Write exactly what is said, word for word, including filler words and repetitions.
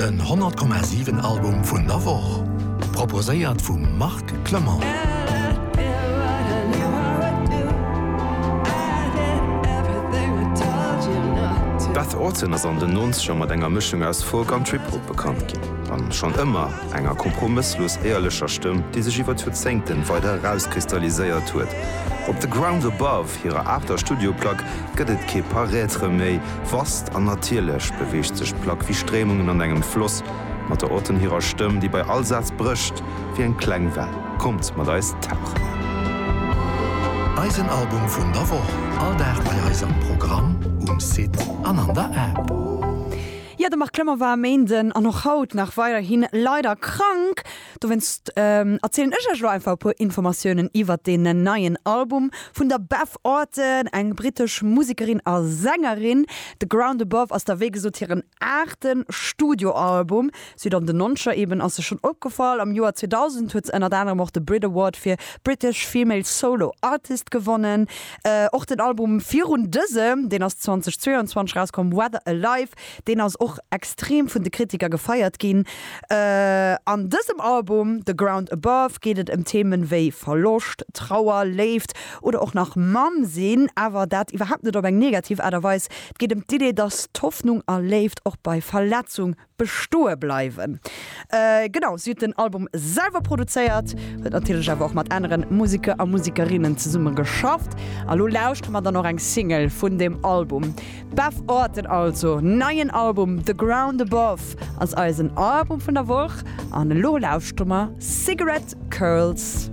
Den honnert Komma siwen Album vun der Woch, proposéiert vum Marc Clement. D'Beth Orton ass an den Nonzeger mat enger Mëschung aus Folk an Trip-Hop bekannt ginn. An schonn ëmmer enger kompromësslos éierlecher Stëmm, déi sech iwwer d'Joerzéngten weider erauskristalliséiert huet. Op The Ground Above, hirer aachter Studioplack, gëtt et kee Paraître méi. Vast an natierlech beweegt sech d'Plack wéi Stréimungen an engem Floss, mat der Orton hirer Stëmm, déi bei all Saz brécht wéi eng kleng Well. Kommt mat eis tauchen! Eisen Album vun der Woch, all Dag bei eis am Programm, um Site an an der App. Jo, de Marc Clement war e Méinden an och haut nach weiderhin leider krank. Dowéinst erzielen ech iech elo einfach e puer Informatiounen iwwert deen neien Album vun der Beth Orton, eng brittesch Musekerin a Sängerin. The Ground Above ass da wéi gesot hiren aachte Studioalbum. Si huet an den Nonzeger eben ass se schonn opgefall. Am Joer zweedausend huet se ënnert anerem och de Brit Award fir British Female Solo Artist gewonnen. Och den Album virun dësem, deen ass zweitausendzweiundzwanzeg erauskomm, Weather Alive, deen ass och extrem vun de Kritiker gefeiert ginn. An dësem Album The Ground Above geet et ëm Themen wéi Verloscht, Trauer, Léift oder och nach Mamm sinn, awer dat iwwerhaapt net op eng negativ Aart a Weis. Et geet ëm d'Idee, dass d'Hoffnung a Léift och bei Verletzung bestoe bleiwen. Genau, si huet den Album selwer produzéiert, huet natierlech awer och mat anere Museker a Musekerinnen zesumme geschafft. A lo lauschtere mer dann och eng Single vun deem Album. D'Beth Orton also, neien Album The Ground Above ass eisen Album vun der Woch an elo lauschtere mer Cigarette Curls.